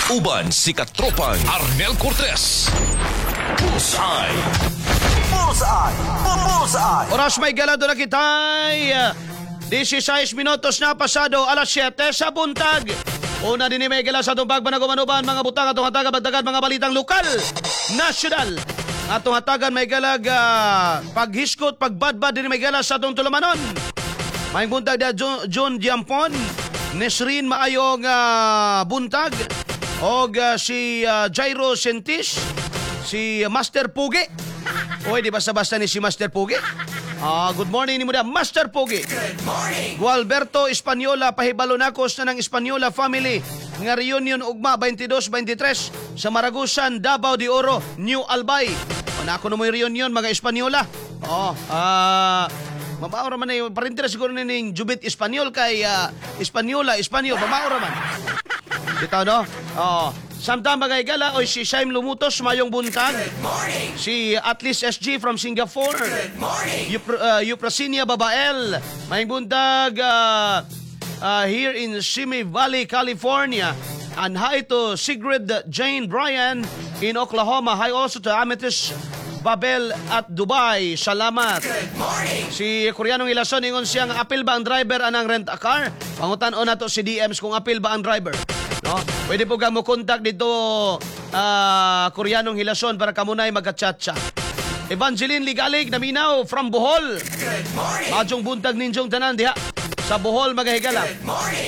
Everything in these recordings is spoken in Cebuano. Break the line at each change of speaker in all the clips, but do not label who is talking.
Uban si Katropang Arnel Cortez. Bullseye.
Bullseye! Bullseye!
Oras may gala doon na kita'y 16 minutos na pasado alas 7 sa buntag. Una din ni may gala sa atong pagpanagumanuban mga butang atong hatagan bagdagan mga balitang lokal, nasyonal. Atong hatagan may galag paghiskot, pagbadbad din may gala sa atong tulumanon. Maayong buntag da John Diampon, Nesrin, maayong buntag. Og si Jairo Sentis, si Master Pugi. Uy, di basta-basta ni si Master Pugi. Ah, good morning ni mo da, Master Pugi. Good morning. Gualberto Espanyola, pahibalo nako sa ng Espanyola family nga reunion ugma 22-23 sa Maragusan, Davao de Oro, New Albay. Manako na mo yung reunion mga Espanyola. Oh, mabao ra man na yung parente ra siguro ni ning Jubit Espanyol kay Espanyola, Espanyol, mabao ra man. Bitaw no? Oh. Samtang mga higala, oy si Shaim Lumutos, mayong buntag. Si Atlas SG from Singapore. Good morning. Euprasinia Babael, mayong buntag here in Simi Valley, California. And hi to Sigrid Jane Bryan in Oklahoma. Hi also to Amethyst Babel at Dubai. Salamat. Si Koreanong Ilason, ingon siyang apil ba ang driver anang rent a car? Pangutan-on nato si DMs kung apil ba ang driver. No? Pwede po ka mo contact dito Koreanong Hilason para kamunay magka-chat. Evangeline Ligalig naminaw from Bohol. Maayong buntag ninyong tanan diha sa Bohol, mga higala.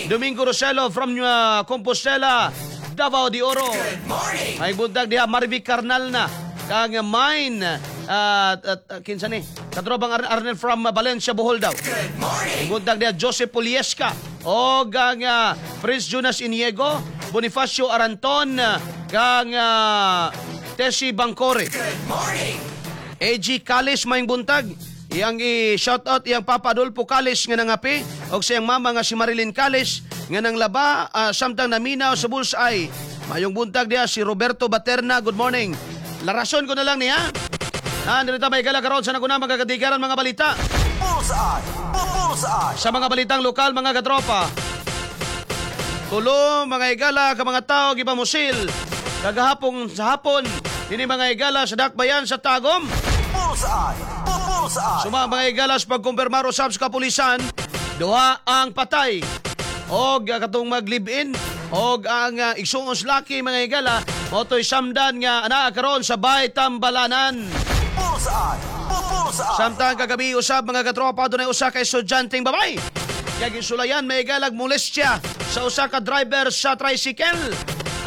Domingo Roselo from Compostela, Davao de Oro. May buntag diha Marvic Carnal na kang mine at kinsa ni Katropang Arnel from Valencia, Bohol daw. Buntag diha Joseph Puliesca o ang Prince Jonas Iniego, Bonifacio Aranton kang Tessie Bangcore. AG Kalis, maayong buntag. Iyang i-shout out iyang Papa Adolfo Kalis nga nangape og sa iyang mama nga si Marilyn Kalis nga nanglaba samtang naminaw sa Bullseye. Mayong buntag diha si Roberto Baterna. Good morning. Larason ko na lang niya. Ah, dito may gala karon sa naguna mga katikaran mga balita.
Bullseye! Bullseye!
Sa mga balitang lokal, mga katropa. Tulo mga higala ka mga tao gipamusil kagahapon sa hapon dinhi, mga higala, sa Dakbayan sa Tagum.
Bullseye! Bullseye!
Suma mga higala sa pagkumpirmar usab sa kapulisan, duha ang patay og katong mag-live-in og ang igsuon sa laki, mga higala, mao to'y samdan nga anaa karon sa Bay Tambalanan.
Bullseye! Bullseye!
Samtang kagabi usab, mga katropa, dunay usa ka estudyanteng babae kay gisulayan may galag molestya sa usa ka driver sa tricycle.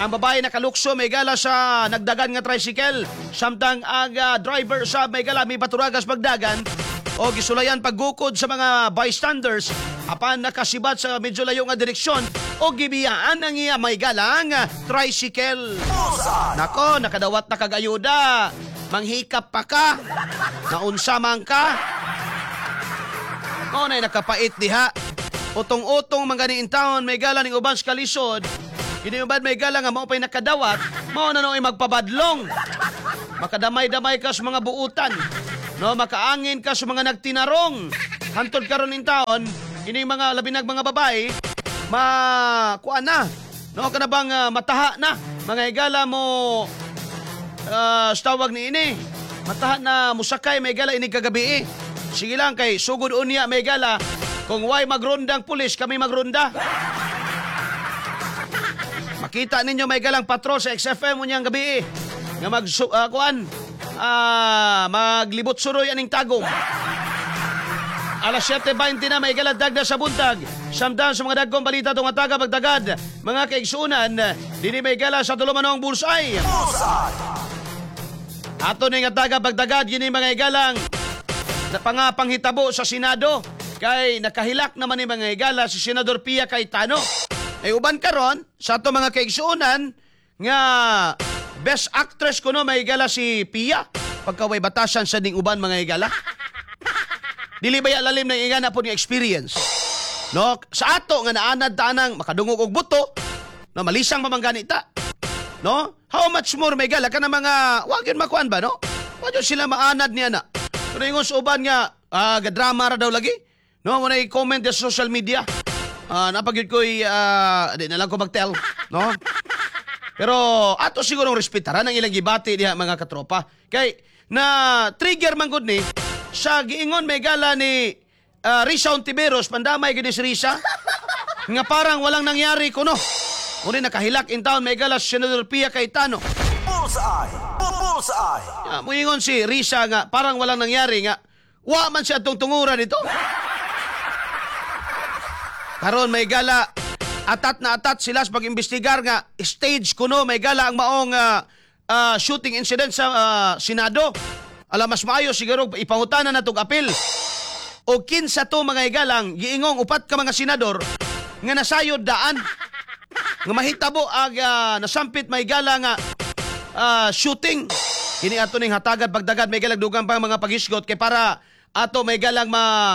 Ang babae nakalukso may gala sa nagdagan nga tricycle samtang ang driver sa may gala may baturagas pagdagan o gisulayan paggukod sa mga bystanders apan nakasibat sa medyo layo nga direksyon o gibiyaan ang iya may galang tricycle.
Bullseye!
Nako, nakadawat na kag ayuda. Manghikap pa ka. Naunsa man ka. Mao na'y nakapait diha. Utong-utong man gani in town may gala ning uban sa kalisod. Kini uban may gala nga mao pa'y nakadawat, mao na nooy magpabadlong. Makadamay-damay ka sa mga buutan. No, makaangin ka sa mga nagtinarong. Hantod karon in taon, kini mga labinag mga babae, ma kuan na. No, kana bang mataha na mga higala mo sa tawag ni ini. Mataha na musakay may gala ini kagabi eh. Sige lang kay sugod unya may gala. Kung way magrondang pulis, kami magronda. Makita ninyo may galang patrol sa XFM unyang gabi eh. Nga mag kuan maglibot suroy aning Tagum. Alas 7:20 na may galang dagda sa buntag. Samtang sa mga dagkong balita tong ataga pagdagad. Mga kaigsunan, dinhi may gala sa tulumanong Bullseye.
Bullseye!
Ato ning ataga pagdagad yun yung mga igalang na pangapanghitabo sa Senado kay nakahilak naman ni mga higala si Senador Pia Cayetano. Ay uban karon sa ato mga kaigsuonan nga best actress kuno may higala si Pia pagka way batasan sa ning uban, mga higala. Dili ba ya lalim na ingana po nga experience? No, sa ato nga naanad tanang makadungog og buto, no, malisang pa man gani ta. No? How much more may gala ka na mga wag yun makuan ba, no? Wa yun sila maanad niya na. Pero ingon sa uban nga gadrama ra daw lagi. No, mo na i-comment sa social media. Napagyud ko'y di na lang ko mag-tell, no? Pero ato sigurong respetaran ang ilang gibati diha, mga katropa. Kay na trigger man gud ni sa giingon may gala ni Risa Hontiveros, pandamay gid ni si Risa nga parang walang nangyari kuno. Muni nakahilak in town may gala si Senator Pia Cayetano.
Bullseye! Bullseye!
Muingon si Risa nga parang walang nangyari nga wa man siya atong tungura dito. Karon may gala atat na atat sila sa pag-imbestigar nga stage kuno may gala ang maong shooting incident sa Senado. Ala, mas maayo siguro ipangutana na tong apil. O kinsa to, mga higalang giingong upat ka mga senador nga nasayod daan nga mahitabo ang nasampit may gala nga shooting. Kini ato ning hatagan pagdagad may galang dugang pang mga paghisgot kay para ato may galang ma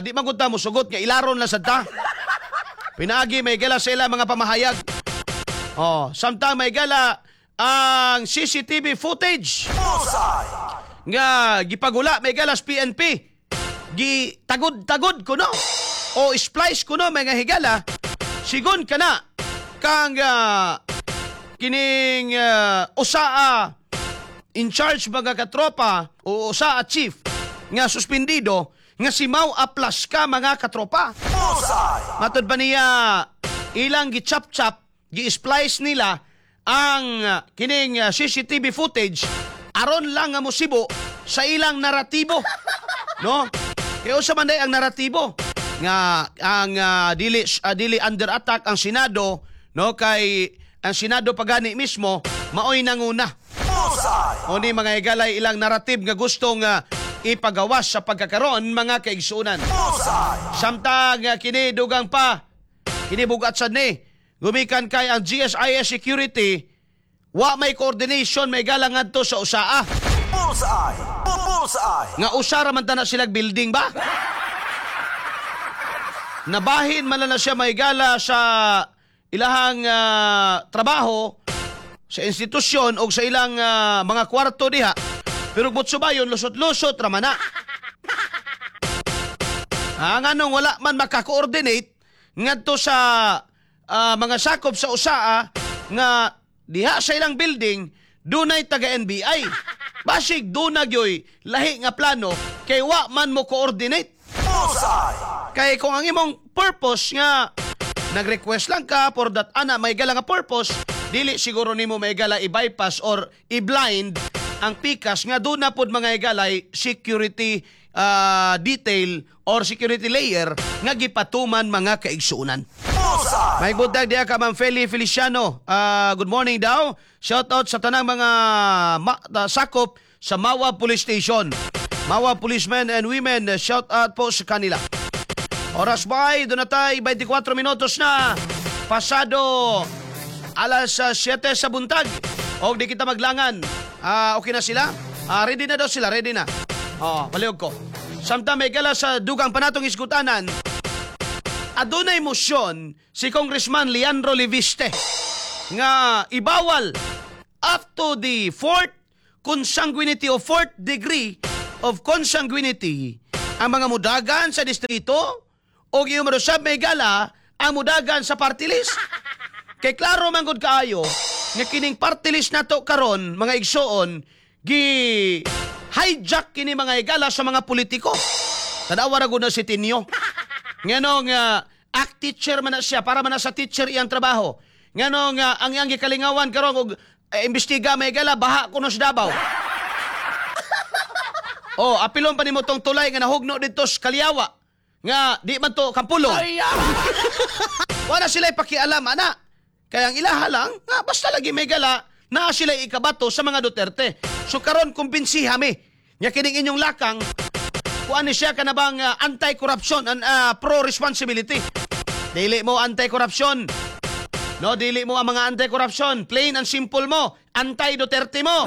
di man gud ta mosugot nga ilaron lang sad ta. Pinaagi may gala sa ila mga pamahayag. Oh, samtang may gala ang CCTV footage
Bullseye!
nga gipagula may galas PNP, gitagod-tagod kuno o splice kuno, mga higala, sigon kana kang kining usaa in charge, mga katropa, o usaa chief nga suspendido nga si Mau Aplasca, mga katropa.
Bullseye!
Matod pa niya, ilang gichap-chap, gi-splice nila ang kining CCTV footage aron lang nga musibo sa ilang naratibo. No? Kaya usa man day ang naratibo nga ang dili under attack ang Senado, no, kay ang Senado pagani mismo maoy nanguna.
Bullseye!
O ni, mga higalay, ilang narrative nga gustong ipagawas sa pagkakaroon, mga kaigsunan.
Bullseye!
Samtang kini dugang pa kini bugat sad ni gumikan kay ang GSIS security wa may coordination may galang ngadto sa usaa.
Bullseye! Bullseye!
Nga usa ra man ta na silag building ba? Nabahin man lang na siya may gala sa ilahang trabaho sa institusyon o sa ilang mga kwarto diha. Pero butso ba yun, lusot-lusot raman na. Ang anong wala man makakoordinate ngadto sa mga sakop sa USAA nga diha sa ilang building dunay taga NBI. Basig duna gyoy lahi nga plano kay wa man mo coordinate.
Bullseye!
Kay kung ang imong purpose nga nag-request lang ka for that ana may gala nga purpose, dili siguro nimo may gala i-bypass or i-blind ang pikas nga doon na pod, mga higalay, security detail or security layer nga gipatuman, mga kaigsuunan.
Bullseye!
May buntag diha ka Ma'am Feli Feliciano. Good morning daw. Shout out sa tanang mga sakop sa Mawab Police Station. Mawab policemen and women, shout out po sa kanila. Oras ba ay doon na tayo 24 minutos na pasado alas 7 sa buntag. O di kita maglangan. Okay na sila? Ready na daw sila, ready na. Oh, palihog ko. Samtang may gala sa dugang panatong iskutanan, adunay motion si Congressman Leandro Leviste nga ibawal up to the fourth consanguinity o fourth degree of consanguinity ang mga mudagan sa distrito o giyong sab may gala ang mudagan sa party list. Kay klaro man gud kaayo nga kining party list nato karon, mga igsoon, gi hijack kini, mga higala, sa mga politiko. Tanawa ra gud na si Tinio. Nganong act teacher man na siya, para man na sa teacher iyang trabaho. Nganong ang iyang gikalingawan karon og imbestiga may gala baha kuno sa Davao. Oh, apilon pa nimo tong tulay nga nahugno didto sa Kaliawa nga di man to kampulong. Wala sila pakialam ana. Kaya ang ilaha lang, nga basta lagi may gala, naa sila ikabato sa mga Duterte. So karon kumbinsiha mi nga kining inyong lakang kuan ni siya kanabang anti-corruption and pro-responsibility. Dili mo anti-corruption. No, dili mo ang mga anti-corruption. Plain and simple mo. Anti-Duterte mo.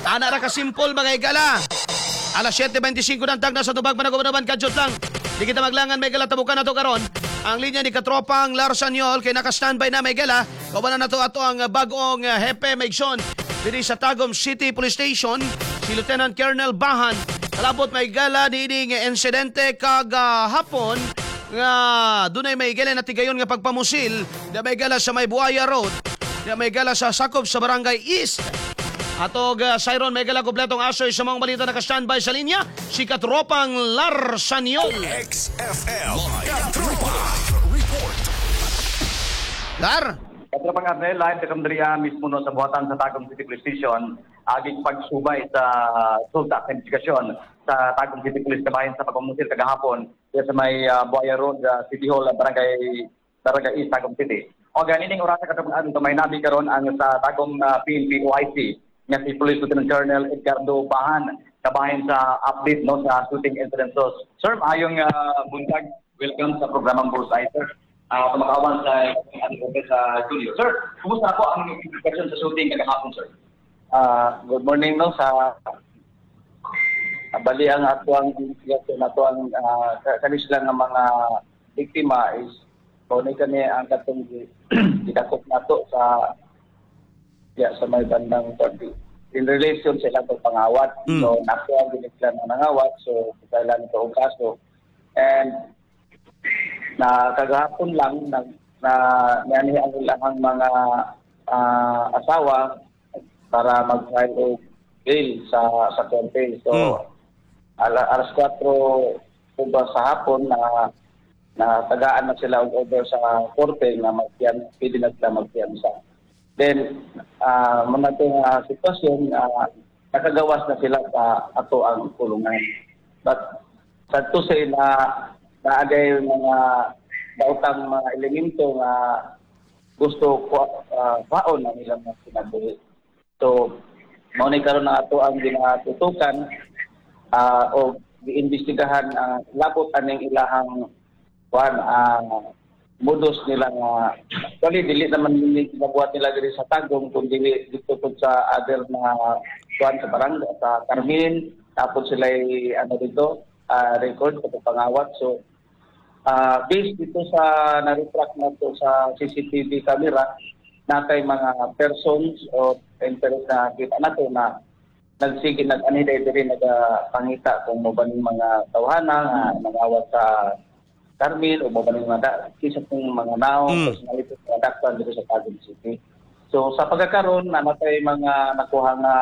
Ana ra ka simple, mga higala. Alas 7:25 ng tagna sa tubag panagubanaban kadyot lang. Di kita maglangan, may gala, tabukan na to karon. Ang linya ni katropang Larson Yol kay naka-standby na, may gala. Kauban na nato ato ang bagong hepe Megson diri sa Tagum City Police Station, si Lieutenant Colonel Bahan. Kalabot may gala niining insidente kagahapon Nga dunay may gala na tigayon nga pagpamusil, da may gala sa may Buaya Road, da may gala sa sakop sa Barangay East. Atog Siron may gala kompletong asoy sa mga balita, naka-standby sa linya si Katropang Larsaniol.
XFM. Katropa Report.
Lar!
Katropang Arnel, live ka diri mismo no sa buhatan sa Tagum City Police Station, aging pagsubay sa sulta sa investigasyon sa Tagum City Police kabahin sa pagpamusil kagahapon diya sa may Buaya Road, City Hall, Barangay East, Tagum City. O ganining orasa, Katropang Arnel, may nabi karon ang sa Tagum PNP OIC nga si Police Lieutenant Colonel Edgardo Bahan kabahin sa update no sa shooting incident. So, sir, maayong buntag. Welcome sa programang Bullseye, sir. Kumakawan sa sa Julio. Sir, kumusta po ang investigation sa shooting kagahapon, sir?
Good morning no sa bali ang ato ang investigasyon ato ang kani sila nga mga biktima is mao ni kani ang katong gidakop nato sa ya sa may bandang 30 in relation sa ilang pangawat. So nakuha gid sila ng nangawat, so kailan ito og kaso and na kagahapon lang na niani ang ilang mga asawa para mag-file og bail sa korte. So alas 4 uba sa hapon na na tagaan na sila og order sa korte nga magpian pwede na sila magpiyansa. Then mga nga sitwasyon, nakagawas na sila sa ato ang kulungan. But sad to say na naagay mga daotang mga elemento nga gusto ko kwaon ang ilang mga kinabuhi. So, mao ni karon ang ato ang ginatutukan o giimbestigahan ang labot aning ilahang kuan modus nila nga actually dili naman nila ginabuhat nila diri sa Tagum kundi dito pud sa other na kuan sa barangay sa Carmen, tapos sila ano dito record sa pangawat. So based dito sa na-retract na to sa CCTV camera, natay mga persons o interest na kita nato na nagsige nag-ani diri nagapangita kung mo ba ning mga tawhana nga nangawat sa Carmel o mo ba ning mga kisa kung mga naong personality nga dakpan diri sa Tagum City. So sa pagkakaroon na natay mga nakuha nga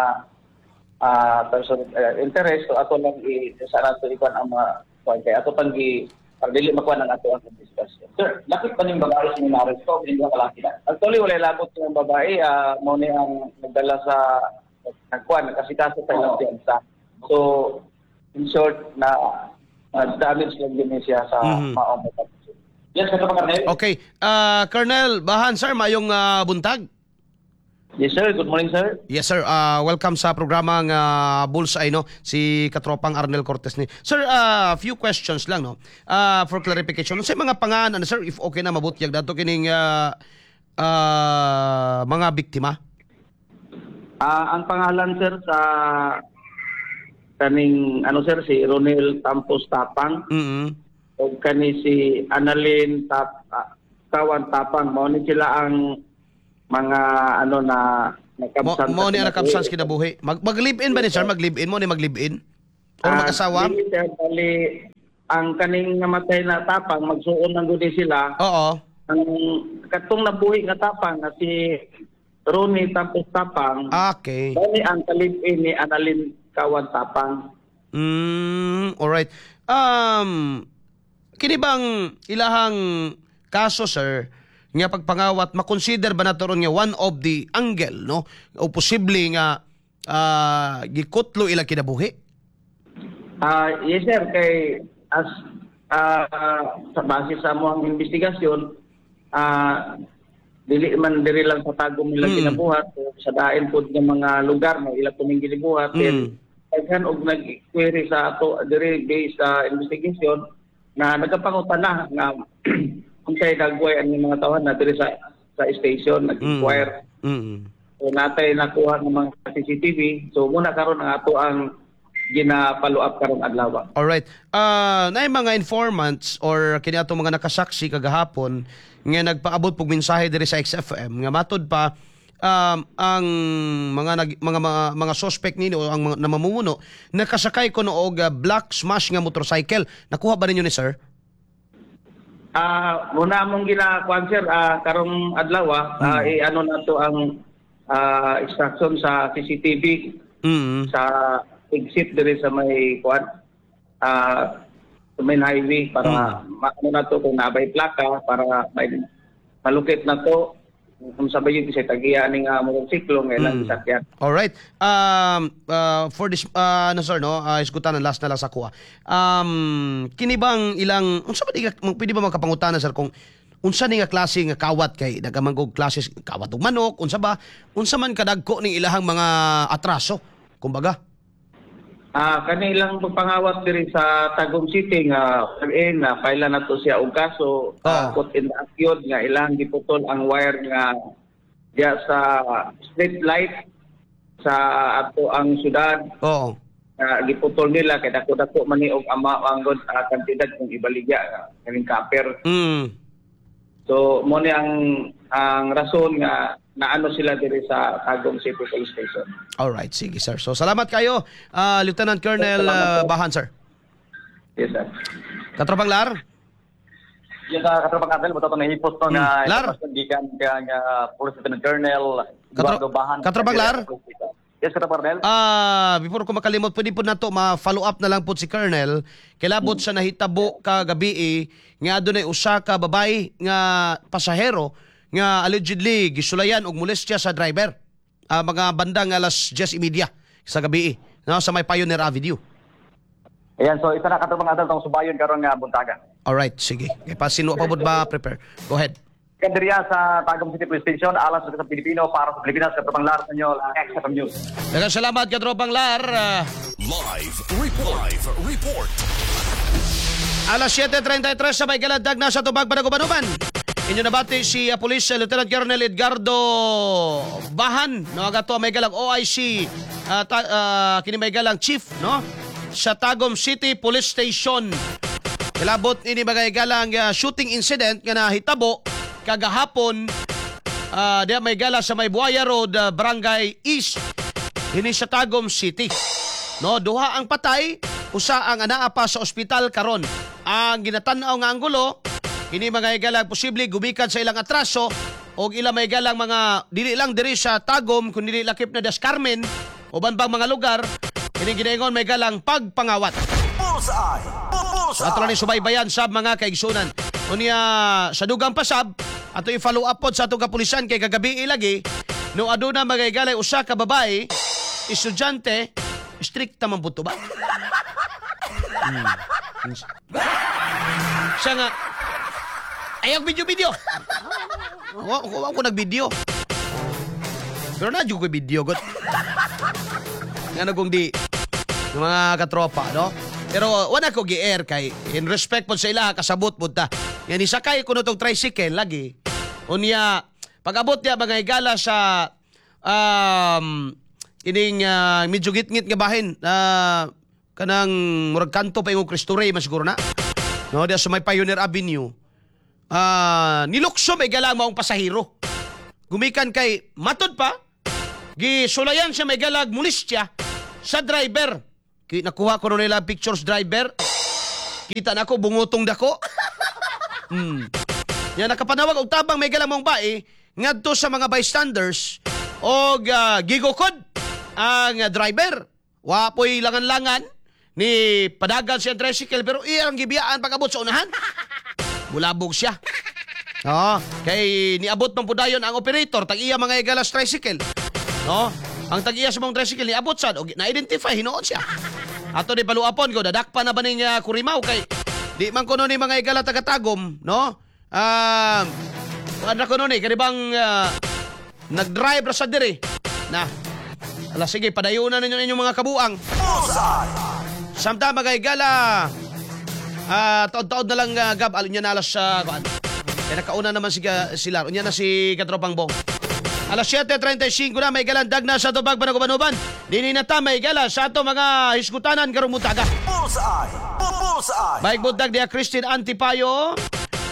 person interest, so ato lang i sa nato ikuan ang mga kuan kay ato pang gi para dili makuha ng ato ang discussion.
Sir, lakip ba ning babae sa minaresto o hindi ka laki na?
Actually, wala labot yung babae. Mo ni ang nagdala sa nagkuan, nagkasikaso sa ilang piyansa. So, in short, na damage lang din siya sa maong pagkakasya.
Yes, Katropang Arnel.
Okay, Colonel Bahan, sir, mayong buntag.
Yes, sir. Good morning, sir.
Yes, sir, welcome sa programang Bullseye no, si Katropang Arnel Cortez ni. Sir, few questions lang no. For clarification, sa mga pangalan sir, if okay na mabutyag dato kining mga biktima?
Ang pangalan, sir, sa kaning ano, sir, si Ronel Tampos Tapang o kani si Annalyn Tawan Tapang. Mao ni sila ang mga ano na nakabsan.
Mo ni nakabsan sa kinabuhi. Mag live-in ba ni, sir? Mag live-in mo ni mag live-in? Or mag-asawa?
Dili, sir, bali ang kaning namatay na Tapang magsuon ng gudi sila. Ang katong nabuhi nga Tapang na si Ronnie Tampos Tapang, bali ang ka-live-in ni Annalyn Kawan Tapang.
Alright. Kini bang ilahang kaso, sir, nga pagpangawat, makonsider ba nato ron nga one of the angle no o posible nga gikutlo ila kinabuhi?
Yes, sir, kay as sa base sa among investigasyon, dili man diri lang sa Tagum nila ginabuhat, sa dain pod nga mga lugar mo ila kuning ginibuhat. Then daghan og nag-query sa ato diri based sa investigation na nagapangutana nga unsay dagway ang mga tawhan na diri sa station nag-inquire. So natay nakuha ng mga CCTV. So muna karon ang ato ang gina-follow up karong adlaw.
Alright. Naay mga informants or kini ato mga nakasaksi kagahapon nga nagpaabot pug mensahe diri sa XFM nga matud pa ang mga nag, mga, mga mga suspect nini o ang mga namamumuno nakasakay kuno og black Smash nga motorcycle. Nakuha ba ninyo ni, sir?
Muna among ginakuan, sir, karong adlaw i-ano nato ang extraction sa CCTV sa exit diri sa may kuan sa main highway para maano nato kung nabay plaka para may malukit na to kung sabay yung sa tagiya ani nga motorsiklo nga ilang sakyan.
Alright. For this no sir, no, isgutan ang last na lang sa kuha. Kini bang ilang unsa ba di pwede ba makapangutana, sir, kung unsa ni nga klase nga kawat, kay nagamangog klase kawat og manok, unsa ba, unsa man kadagko ning ilahang mga atraso kumbaga?
Kanilang pagpangawat diri sa Tagum City nga in na file na to siya og kaso, caught in the act yun nga ilang giputol ang wire nga diya sa street light sa ato ang syudad. Nga giputol nila kay dako-dako man ni og ama ang god kantidad kung ibaligya kaning copper. So mo ni ang rason nga naano sila diri sa Tagum City Police Station.
Alright, sige sir. So salamat kayo, Lieutenant Colonel
Salamat po.
Bahan, sir.
Yes, sir.
Katropang Lar?
Yung sa katropang Adel, buto itong nahipos to nga
Lar.
impormasyon gikan kang Police Lieutenant Colonel Eduardo Bahan.
Katropang Lar?
Yes, Katropang Arnel.
Before ko makalimot, pwede po nato ma-follow up na lang po si Colonel. Kilabot sa nahitabo kagabi eh, nga adunay usa ka babae nga pasahero nga allegedly gisulayan og molestya sa driver. Mga bandang alas 10:30 sa gabi eh, no, sa may Pioneer Avenue.
Ayan, so isa na, Katropang Adel, tong subayon karon nga buntaga.
Alright, sige. Kay pasin wa pa pod ba prepare. Go ahead.
Kandiriya sa Tagum City Police Station, alas sa Pilipino para sa Pilipinas, Katropang Lar sa inyo, XFM News.
Daghang salamat, Katropang Lar.
Live report. Live report.
Alas 7:33 sa may galandag na sa tubag panagubanuban. Inyo nabati si Police Lieutenant Colonel Edgardo Bahan, no, agato may galang OIC kini may galang chief, no, sa Tagum City Police Station. Kilabot ini mga galang shooting incident nga nahitabo kagahapon diya may gala sa may Buaya Road, Barangay East dinhi sa Tagum City. No, duha ang patay, usa ang anaa pa sa ospital karon. Ang ginatan-aw nga anggulo, kini mga higala posible gumikan sa ilang atraso og ila may galang mga dili lang diri sa Tagum kun dili lakip na Das Carmen uban pang mga lugar kini ginaingon may galang pagpangawat.
Bullseye!
So ato lang
Bullseye!
ni subaybayan sab, mga kaigsunan. Unya sa dugang pasab ato i-follow up pod sa atong kapulisan kay kagabi lagi no aduna mga higalay usa ka babae estudyante, strikta man pud to ba? Siya nga ayaw video-video. Wa ko nag-video. Pero na ko video god. Nga kung di ng mga katropa, no? Pero wala ko gi-air kay in respect po sa ila, kasabot po ta. Yan isakay ko no tong tricycle lagi. Unya pag-abot niya mga higala sa ining medyo gitngit nga bahin kanang murag kanto pa imong Cristo Rey man siguro na. No, diya sa may Pioneer Avenue. Nilukso may galang maong pasahero. Gumikan kay matod pa gisulayan siya may galag molestya sa driver. Ki nakuha ko nila pictures driver. Kita na ako bungutong dako. Yan nakapanawag og tabang may galang mong bae ngadto sa mga bystanders og gigukod ang driver. Wa po'y langan-langan ni padagan siya ang tricycle pero iyang gibiyaan pag-abot sa unahan. Bulabog siya. Oo, kay niabot man po dayon ang operator tag iya mga igalas tricycle. No? Ang tag-iya sa mong tricycle niabot sad og na-identify hinuon siya. Ato ni paluapon ko dadakpa na ba ning kurimaw kay di man kuno ni mga igala taga-Tagum, no? Kuan ra kuno ni kani bang nag-drive ra sa diri. Na. Ala sige, padayunan ninyo inyong mga kabuang.
Bullseye!
Samtang mga higala, taod-taod na lang gab, alin niya na alas sa kuan. Kaya nakauna naman si sila. Unya na si Katropang Bong. Alas 7:35 na may galandag na sa tubag panagubanuban. Dini na ta may gala sa ato mga hisgutanan karong mutaga.
Bullseye! Bullseye!
Baik buntag diya Christine Antipayo,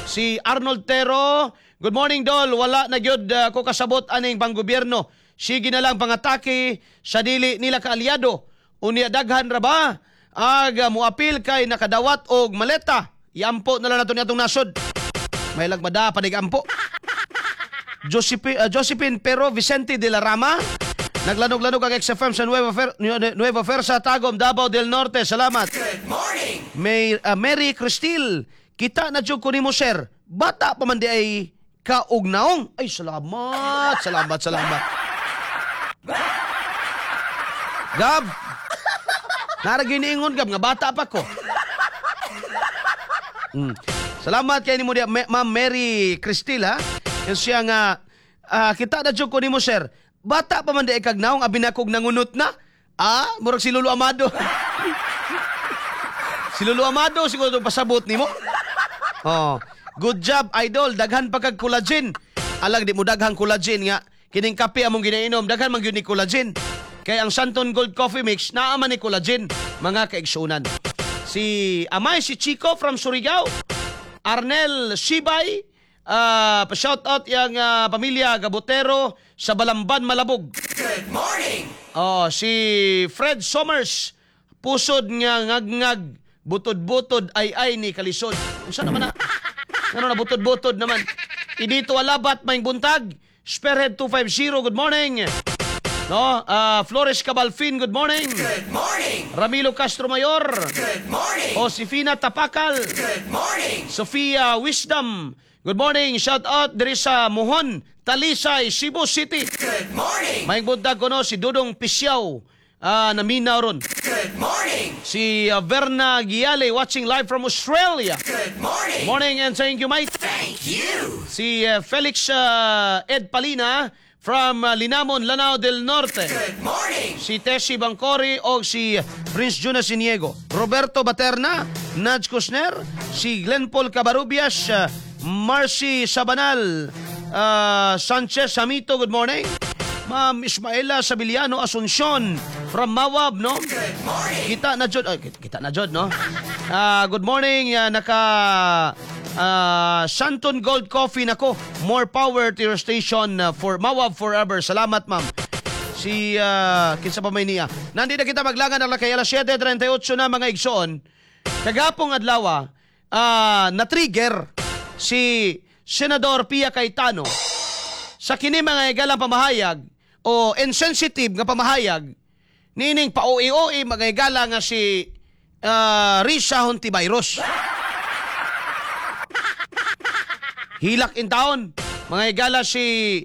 si Arnold Tero. Good morning, Dol. Wala na gyud ko kasabot aning panggobyerno. Sige na lang pangatake sa dili nila kaalyado. Unya daghan ra ba? Ag muapil kay nakadawat og maleta. Iampo na lang nato niadtong nasod. May lagmada panigampo. Josephine Pero Vicente de la Rama. Naglanog-lanog ang XFM sa Nueva Fersa, Tagum, Davao del Norte. Salamat.
Good morning.
Mary Cristil, kita na jud ko nimo, sir. Bata pa man di ay kaugnaong. Ay, salamat, salamat, salamat. Gab, naragay niingon, Gab, nga bata pa ko. Salamat kay nimo diya, Ma'am Mary Cristil, ha. Yung siya nga, kita na jud ko nimo, sir. Bata pa man di ay kagnaong, abi na kog nangunot na. Ah, murag si Lolo Amado. Si Lolo Amado, siguro pasabot nimo. Oh, good job, idol. Daghan pa kag collagen. Alag di mo daghang collagen nga kining kape among ginainom, daghan man gyud ni collagen. Kay ang Santon Gold Coffee Mix naa man ni collagen, mga kaigsunan. Si Amay si Chico from Surigao. Arnel Sibay, pa-shout out yang pamilya Gabotero sa Balamban, Malabog.
Good morning.
Oh, si Fred Somers, pusod nga ngagngag, butod-butod ay ay ni kalisod. Unsa naman na? Ano na butod-butod naman? Idito alabat maing buntag. Spearhead 250, good morning. No, Flores Cabalfin, good morning.
Good morning.
Ramilo Castro Mayor,
Good morning.
Josefina Tapakal,
Good morning.
Sofia Wisdom. Good morning. Shout out diri sa Muhon, Talisay, Cebu City.
Good morning.
Maing buntag kuno si Dudong Pisyaw, naminaw ron.
Good morning.
Si Verna Giale watching live from Australia.
Good morning.
Morning and thank you, mate.
Thank you.
Si Felix Ed Palina from Linamon, Lanao del Norte.
Good morning.
Si Tessie Bangkori o si Prince Jonas Iniego. Roberto Baterna, Naj Kusner, si Glenn Paul Cabarubias, Marcy Sabanal, Sanchez Samito, good morning. Ma'am Ismaela Sabiliano Asuncion from Mawab, no?
Good morning.
Kita na jud, ay, kita na jud, no? Good morning, naka Santon Gold Coffee nako. More power to your station for Mawab forever. Salamat, ma'am. Si kinsa pa may niya. Nandi na kita maglangan ang kay alas 7:38 na, mga igsoon. Kagapong adlaw, na-trigger si Senador Pia Cayetano sa kini mga igalang pamahayag o insensitive nga pamahayag nining pa-OA-OA, mga igala, nga si Risa Hontiveros. Hilak in town, mga igala, si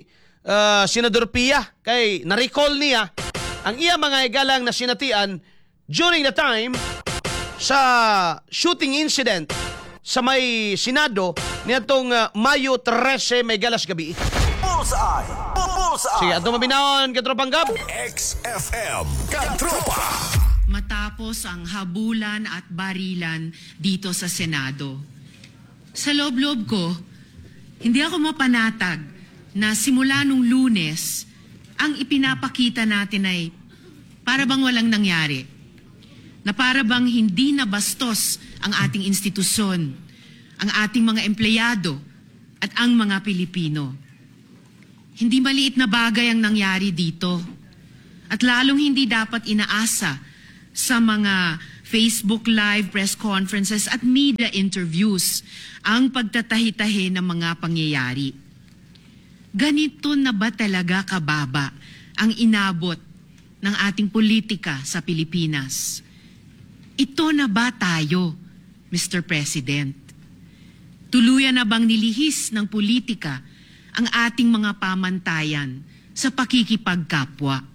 Senador Pia kay na-recall niya ang iya mga igalang na sinatian during the time sa shooting incident sa may Senado niadtong Mayo 13 may galas gabi.
Bullseye. Bullseye.
Sige, atong maminawon, katropang Gab.
XFM. Katropa.
Matapos ang habulan at barilan dito sa Senado. Sa loob-loob ko, hindi ako mapanatag na simula nung Lunes, ang ipinapakita natin ay para bang walang nangyari. Na para bang hindi nabastos ang ating institusyon, ang ating mga empleyado, at ang mga Pilipino. Hindi maliit na bagay ang nangyari dito. At lalong hindi dapat inaasa sa mga Facebook Live press conferences at media interviews ang pagtatahi-tahi ng mga pangyayari. Ganito na ba talaga kababa ang inabot ng ating politika sa Pilipinas? Ito na ba tayo, Mr. President? Tuluyan na bang nilihis ng politika ang ating mga pamantayan sa pakikipagkapwa?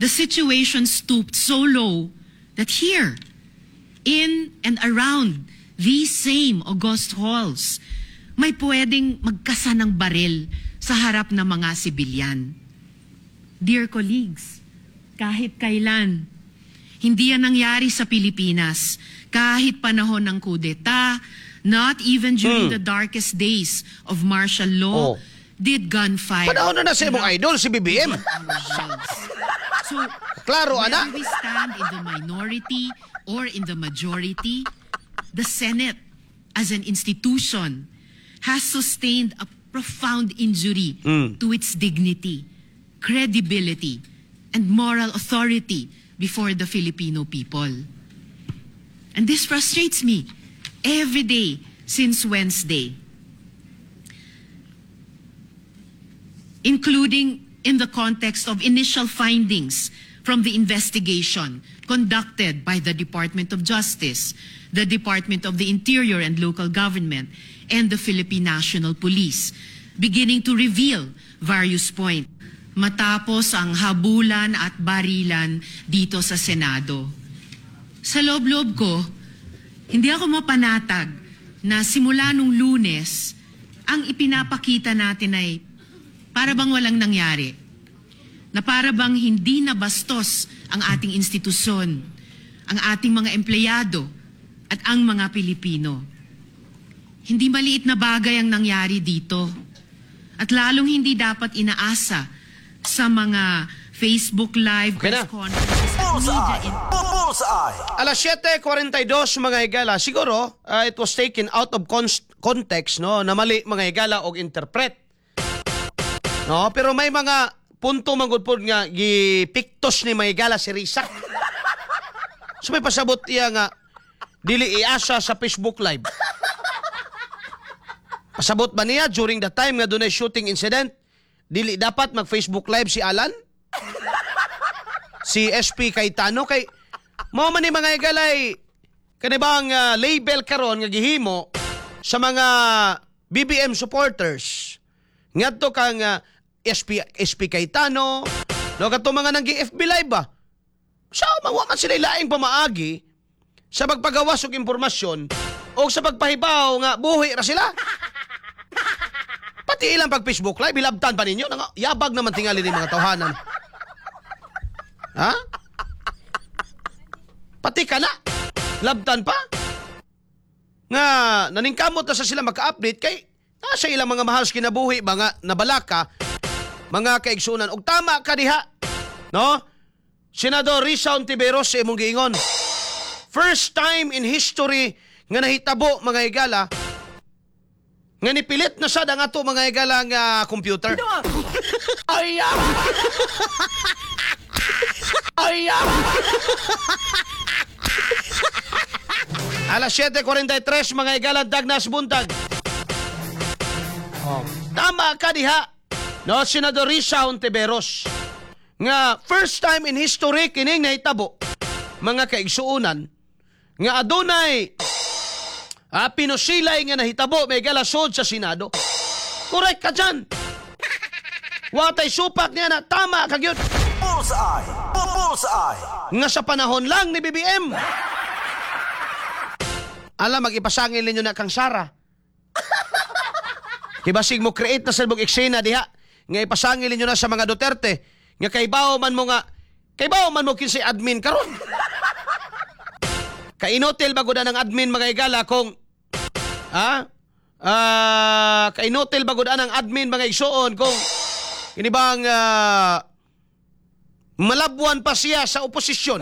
The situation stooped so low that here, in and around these same august halls, may pwedeng magkasa ng baril sa harap ng mga sibilyan. Dear colleagues, kahit kailan, hindi yan nangyari sa Pilipinas. Kahit panahon ng kudeta, not even during the darkest days of martial law, did gunfire
Panahon na na sa imong idol, si BBM.
So,
Klaro,
whether
ana.
we stand in the minority or in the majority, the Senate as an institution has sustained a profound injury to its dignity, credibility, and moral authority before the Filipino people. And this frustrates me every day since Wednesday, including in the context of initial findings from the investigation conducted by the Department of Justice, the Department of the Interior and Local Government, and the Philippine National Police, beginning to reveal various points. Matapos ang habulan at barilan dito sa Senado. Sa loob-loob ko, hindi ako mapanatag na simula nung Lunes, ang ipinapakita natin ay para bang walang nangyari. Na para bang hindi nabastos ang ating institusyon, ang ating mga empleyado, at ang mga Pilipino. Hindi maliit na bagay ang nangyari dito. At lalong hindi dapat inaasa sa mga Facebook Live,
Okay na.
press conferences at media
Bullseye! Bullseye!
Alas 7:42, mga higala. Siguro, it was taken out of context, no, na mali, mga higala, og interpret. No, pero may mga punto manggod pod nga gipiktos ni mga higala si Risa. So may pasabot iya nga dili iasa sa Facebook Live. Pasabot ba niya during the time nga dunay shooting incident, dili dapat mag Facebook Live si Alan? Si SP Cayetano? Kay mao man ni, mga higalay, kani bang label karon nga gihimo sa mga BBM supporters ngadto kang SP SP Cayetano, no, kadto mga nang FB Live ba. So wa man sila laing pamaagi sa pagpagawas og impormasyon o sa pagpahibaw nga buhi ra sila. Pati ilang pag Facebook Live hilabtan pa ninyo. Nang yabag naman tingali ni mga tawhanan. Ha? Pati ka na. Labtan pa. Nga naningkamot na sa sila maka-update kay nasa ilang mga mahal sa kinabuhi mga nabalaka, mga kaigsunan. Og tama ka diha. No? Senador Risa Hontiveros, sa imong giingon. First time in history nga nahitabo, mga higala, nga nipilit na sad ang ato, mga higala, nga computer. Ay, ay, Alas 7:43, mga higala, dagnas buntag. Oh. Tama ka diha. No, Senador Risa Hontiveros. Nga first time in history kining nahitabo, mga kaigsuonan, nga adunay pinusilay nga nahitabo may galasod sa Senado. Correct ka dyan. Watay supak niya na tama ka gyud.
Bullseye! Bullseye!
Nga sa panahon lang ni BBM. Alam, mag-ipasangil ninyo na kang Sara. Kibasig mo create na sa mong eksena diha. Nga ipasangil ninyo na sa mga Duterte. Nga kaybaw man mo nga, kaybaw man mo kinsay admin karon. Kainutil ba gud ang admin, mga igala, kung ha? Kainutil ba gud ang admin, mga igsuon, kung ini bang malabwan pa siya sa oposisyon?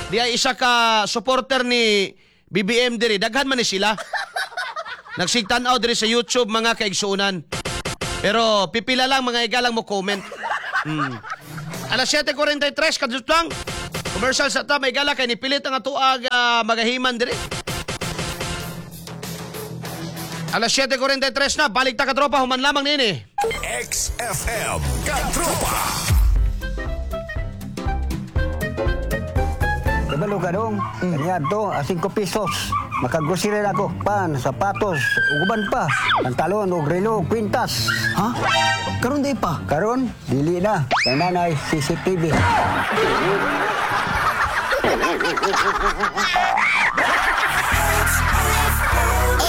Di ay isa ka supporter ni BBM diri, daghan man ni sila. Nagsigtan-aw diri sa YouTube, mga kaigsuonan. Pero pipila lang, mga igalang, mo comment. Alas 7:43 kadtong lang. Commercial sa ta, may gala, kay nipilit ang atuag magahiman diri. Alas 7:43 na, balik ta, katropa, human lamang nini.
XFM Katropa.
Kabalo ka dong, kanya to, a 5 pesos. Makagrocery na ako, pan, sapatos, uguban pa, pantalon, og relo, kwintas.
Ha? Karon di pa.
Karon, dili na. Kay nanay, CCTV.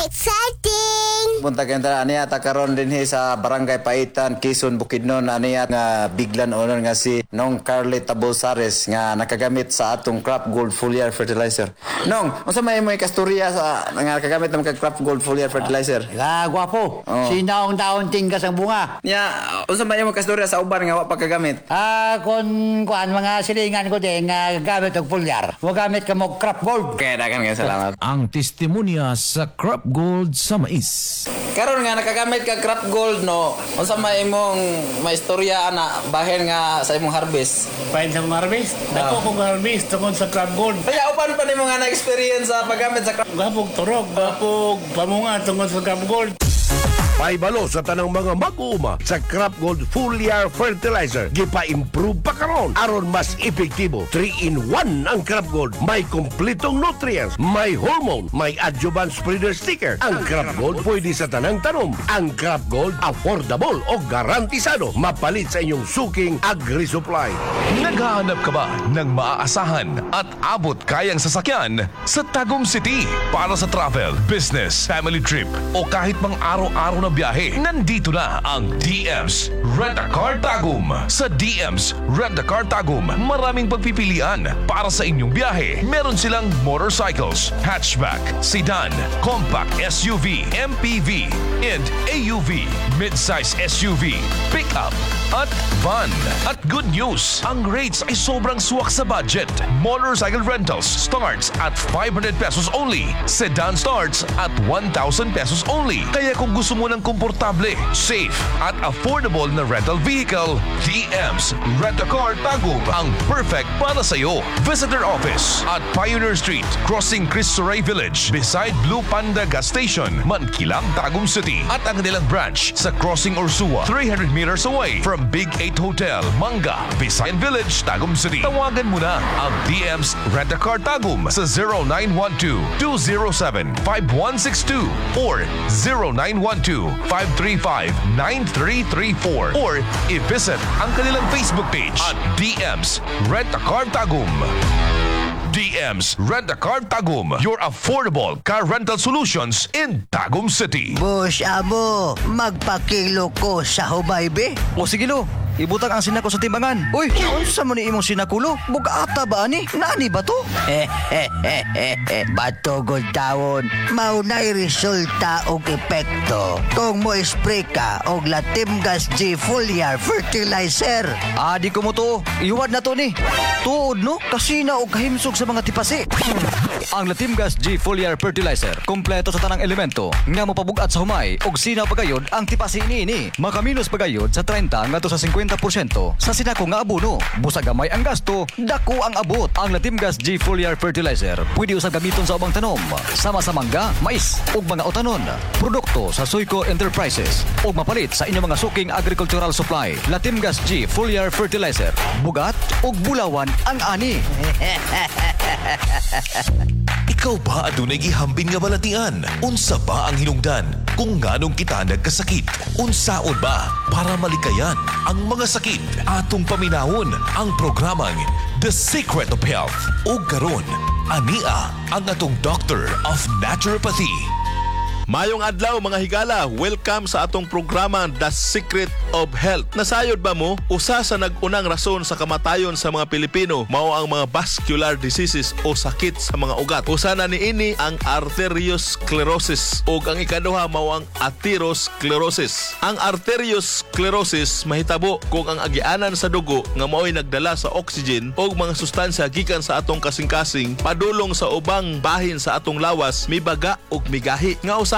Exciting!
Buntag ta aniya ta karon dinhi sa Barangay Paitan, Quezon, Bukidnon, aniya nga biglan onon nga si Nong Carly Tabolsares nga nakagamit sa atong Crop Gold Foliar Fertilizer. Nong, unsa may imoy kasturya sa nga nakagamit ng Crop Gold Foliar Fertilizer?
La, gwapo.
Oh.
Sinaong taon tinggas ang bunga.
Nya, unsa may imong kasturya sa uban nga wa pa kagamit?
Kung kuan mga silingan ko din nga gamit og foliar. Mo gamit ka mo Crop Gold.
Okay, dagan kay salamat.
Ang testimonya sa Crop Gold sa mais.
Karon nga nakagamit ka Crop Gold, no, unsa may imong maistorya ana bahin nga sa imong harvest?
Bahin sa imong harvest? Dako kong harvest tungod sa Crop Gold.
Kaya uban pa nimo nga na-experience sa paggamit sa Crop
Gapog turog, gapog pamunga tungod sa Crop Gold.
Paibalo sa tanang mga mag-uuma sa Crop Gold Foliar Fertilizer. Gipa-improve pa karon aron mas epektibo. 3 in 1 ang Crop Gold. May kompletong nutrients, may hormone, may adjuvant spreader sticker. Ang Crop Gold pwede sa tanang tanom. Ang Crop Gold affordable o garantisado. Mapalit sa inyong suking agri-supply.
Naghahanap ka ba ng maaasahan at abot kayang sasakyan sa Tagum City para sa travel, business, family trip o kahit mang araw-araw na biyahe? Nandito na ang DM's Rent a Car Tagum. Sa DM's Rent a Car Tagum, maraming pagpipilian para sa inyong biyahe. Meron silang motorcycles, hatchback, sedan, compact SUV, MPV, and AUV, midsize SUV, pickup, at van. At good news, ang rates ay sobrang swak sa budget. Motorcycle rentals starts at ₱500 only. Sedan starts at ₱1,000 only. Kaya kung gusto mo ng komportable, safe, at affordable na rental vehicle, DM's Rent a Car Tagum ang perfect para sa'yo. Visit their office at Pioneer Street, crossing Cristo Rey Village, beside Blue Panda Gas Station, Mankilam, Tagum City. At ang kanilang branch sa Crossing Ursua, 300 meters away from Big 8 Hotel, Manga, Visayan Village, Tagum City. Tawagan mo na ang DM's Rent a Car Tagum sa 0912-207-5162 or 0912-535-9334 or i-visit ang kanilang Facebook page at DM's Rent a Car Tagum. DM's Rent a Car Tagum, your affordable car rental solutions in Tagum City.
Boss amo, magpakilo ko sa humay be.
O sige lo, ibutang ang sinako sa timbangan. Uy, unsa man ni imong sinako, lo? Bug-ata ba ani? Naani ba to?
Batugod tawon, mao na'y resulta og epekto kung mo spray ka og Latimgas G Foliar Fertilizer.
Ah, di ko mo to. Iwad na to ni. Tuod no, kasina og kahimsog sa mga tipasi. Ang Latimgas G Foliar Fertilizer, kompleto sa tanang elemento nga mopabugat sa humay og sinaw pagayod ang tipasi niini. Makaminos pagayod sa 30 ngadto sa 50% sa sinako nga abono. Busa gamay ang gasto, dako ang abot. Ang Latimgas G Foliar Fertilizer pwede usab gamiton sa ubang tanom, sama sa mangga, mais ug mga utanon. Produkto sa Suico Enterprises ug mapalit sa inyong mga suking agricultural supply. Latimgas G Foliar Fertilizer, bugat ug bulawan ang ani.
Ikaw ba adunay gihambin nga balatian? Unsa ba ang hinungdan kung nganong kita nagkasakit? Unsaon ba para malikayan ang mga sakit? Atong paminawon ang programang The Secret of Health. O karon, ania ang atong Doctor of Naturopathy.
Mayong adlaw, mga higala, welcome sa atong programa The Secret of Health. Nasayod ba mo, usa sa nag-unang rason sa kamatayon sa mga Pilipino mao ang mga vascular diseases o sakit sa mga ugat? Usa na niini ang arteriosclerosis ug ang ikaduha mao ang atherosclerosis. Ang arteriosclerosis mahitabo kung ang agianan sa dugo nga mao'y nagdala sa oxygen o mga sustansya gikan sa atong kasing-kasing padulong sa ubang bahin sa atong lawas mibaga ug migahi nga usahay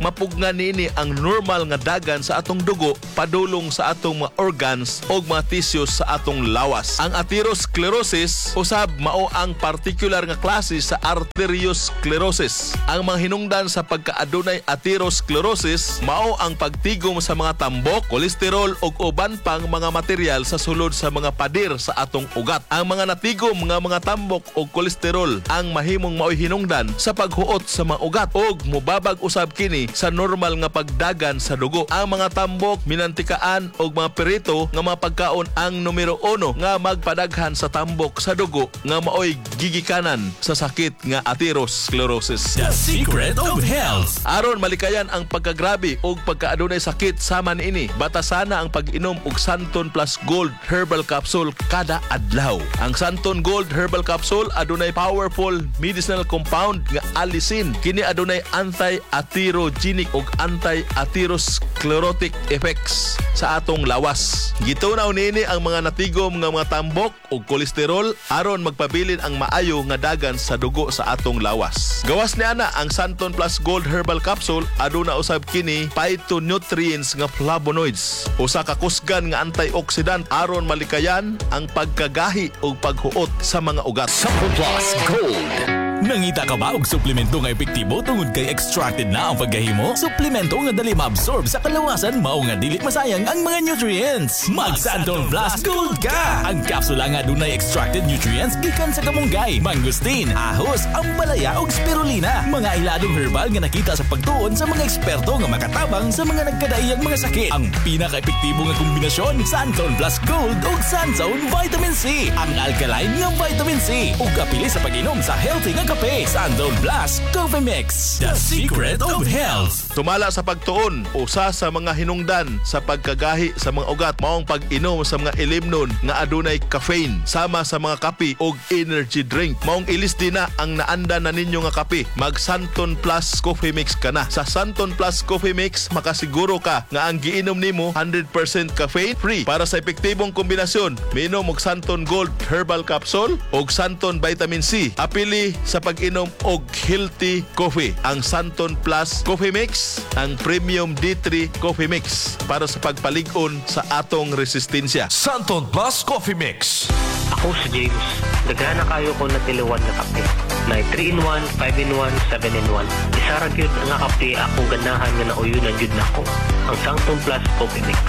mapugnan niini ang normal nga dagan sa atong dugo padulong sa atong mga organs o mga tissues sa atong lawas. Ang atherosclerosis usab mao ang particular nga klase sa arteriosclerosis. Ang mga hinungdan sa pagkaadunay atherosclerosis mao ang pagtigom sa mga tambok, kolesterol ug uban pang mga material sa sulod sa mga pader sa atong ugat. Ang mga natigom nga mga tambok og kolesterol ang mahimong maoy hinungdan sa paghuot sa mga ugat ug mobabag usab kini sa normal nga pagdagan sa dugo. Ang mga tambok, minantikaan og mga perito nga mga pagkaon ang numero uno nga magpadaghan sa tambok sa dugo nga maoy gigikanan sa sakit nga atherosclerosis.
The Secret of Health.
Aron malikayan ang pagkagrabe og pagkaadunay sakit sama niini, batasana ang pag-inom og Santon Plus Gold Herbal Capsule kada adlaw. Ang Santon Gold Herbal Capsule adunay powerful medicinal compound nga allicin. Kini adunay anti-atherosclerosis. anti-atherogenic ug anti-atherosclerotic effects sa atong lawas. Gitunaw niini ang mga natigom nga mga tambok ug kolesterol aron magpabilin ang maayo nga dagan sa dugo sa atong lawas. Gawas ni ana ang Santon Plus Gold Herbal Capsule aduna usab kini phytonutrients nga flavonoids. Usa ka kusgan nga antioxidant aron malikayan ang pagkagahi ug paghuot sa mga ugat.
Santon Plus Gold. Nangita ka ba og suplemento nga epektibo tungod kay extracted na ang pagkahimo? Suplemento nga dali ma-absorb sa kalawasan mao nga dili masayang ang mga nutrients. Mag Santon Plus Gold ka! Ang kapsula nga dunay extracted nutrients gikan sa kamunggay, mangosteen, ahos, ampalaya ug spirulina. Mga iladong herbal nga nakita sa pagtuon sa mga eksperto nga makatabang sa mga nagkadaiyang mga sakit. Ang pinaka-epektibo nga kombinasyon, Santon Plus Gold ug Santon Vitamin C. Ang alkaline nga vitamin C ug apili sa pag-inom sa healthy nga kape. Santon Plus Coffee Mix. The secret of health.
Sumala sa pagtuon, usa sa mga hinungdan sa pagkagahi sa mga ugat maong pag-inom sa mga ilimnon nga adunay caffeine sama sa mga kape og energy drink. Maong ilis din na ang naanda na ninyo nga kape. Mag Santon Plus Coffee Mix ka na. Sa Santon Plus Coffee Mix, makasiguro ka nga ang giinom nimo 100% caffeine free. Para sa epektibong kombinasyon, miinom og Santon Gold Herbal Capsule og Santon Vitamin C. Apili sa pag-inom og healthy coffee. Ang Santon Plus Coffee Mix, ang Premium D3 Coffee Mix para sa pagpalig-on sa atong resistensya.
Santon Plus Coffee Mix.
Ako si James. Daghan na kayo ko natiliwan nga kape. Na 3-in-1, 5-in-1, 7-in-1. Isa ra gyud nga kape akong ganahan nga nauyunan gyud nako. Ang Sangton Plus Coffee Mix.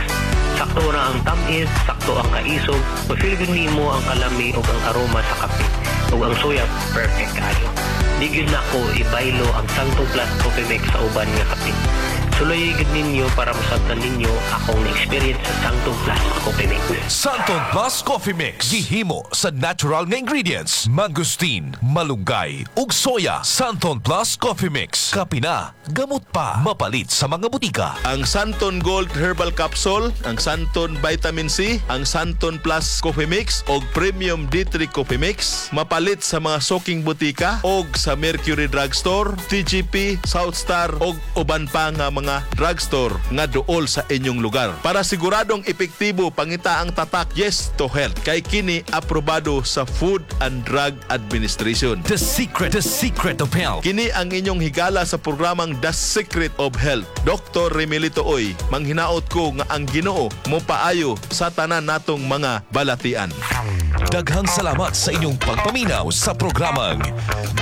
Sakto ra ang tamis, sakto ang kaisog, ma-feel gyud nimo ang kalami ug ang aroma sa kape. Ug ang soya perfect kayo. Di gyud nako ibaylo ang Sangton Plus Coffee Mix sa uban nga kape. Suloy gyud ninyo para masabtan ninyo akong na-experience sa Sangton Plus Coffee Mix.
Santon Plus Coffee Mix. Gihimo sa natural nga ingredients. Mangosteen, malunggay, ug soya. Santon Plus Coffee Mix. Kape na, gamot pa. Mapalit sa mga butika.
Ang Santon Gold Herbal Capsule, ang Santon Vitamin C, ang Santon Plus Coffee Mix og Premium D3 Coffee Mix mapalit sa mga soking butika og sa Mercury Drugstore, TGP, South Star og uban pa nga mga drugstore nga duol sa inyong lugar. Para siguradong epektibo, pangita ang tatak Yes to Health kay kini aprobado sa Food and Drug Administration.
The secret of health.
Kini ang inyong higala sa programang The Secret of Health. Dr. Remilito Oy, manghinaot ko nga ang Ginoo mo paayo sa tanan natong mga balatian.
Daghang salamat sa inyong pagpaminaw sa programang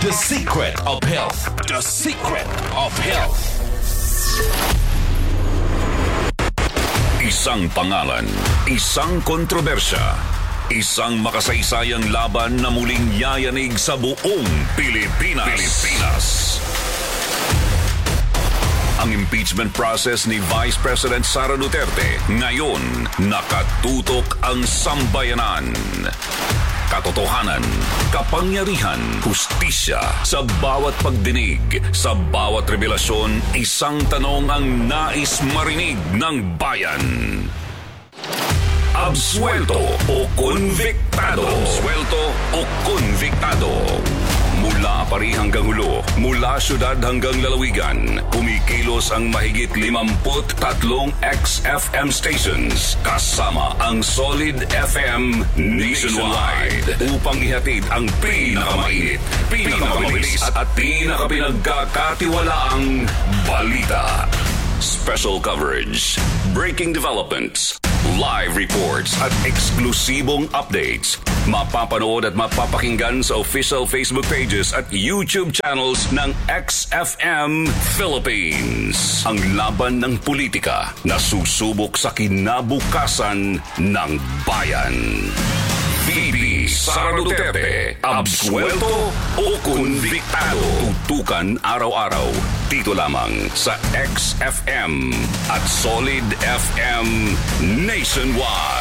The Secret of Health. The Secret of Health.
Isang pangalan, isang kontrobersya, isang makasaysayang laban na muling yayanig sa buong Pilipinas. Pilipinas. Ang impeachment process ni Vice President Sara Duterte ngayon nakatutok ang sambayanan. Katotohanan, kapangyarihan, hustisya sa bawat pagdinig, sa bawat revelasyon, isang tanong ang nais marinig ng bayan. Absuelto o konbiktado? Absuelto o konbiktado? Mula Pari hanggang Hulo, mula syudad hanggang lalawigan, kumikilos ang mahigit 53 XFM stations kasama ang Solid FM nationwide upang ihatid ang pinakamainit, pinakamabilis at pinakapinagkakatiwalaang balita. Special coverage, breaking developments, live reports at eksklusibong updates. Mapapanood at mapapakinggan sa official Facebook pages at YouTube channels ng XFM Philippines. Ang laban ng politika na susubok sa kinabukasan ng bayan. VP Sara Duterte, absuelto o konbiktado? Tutukan araw-araw dito lamang sa XFM at Solid FM Nationwide.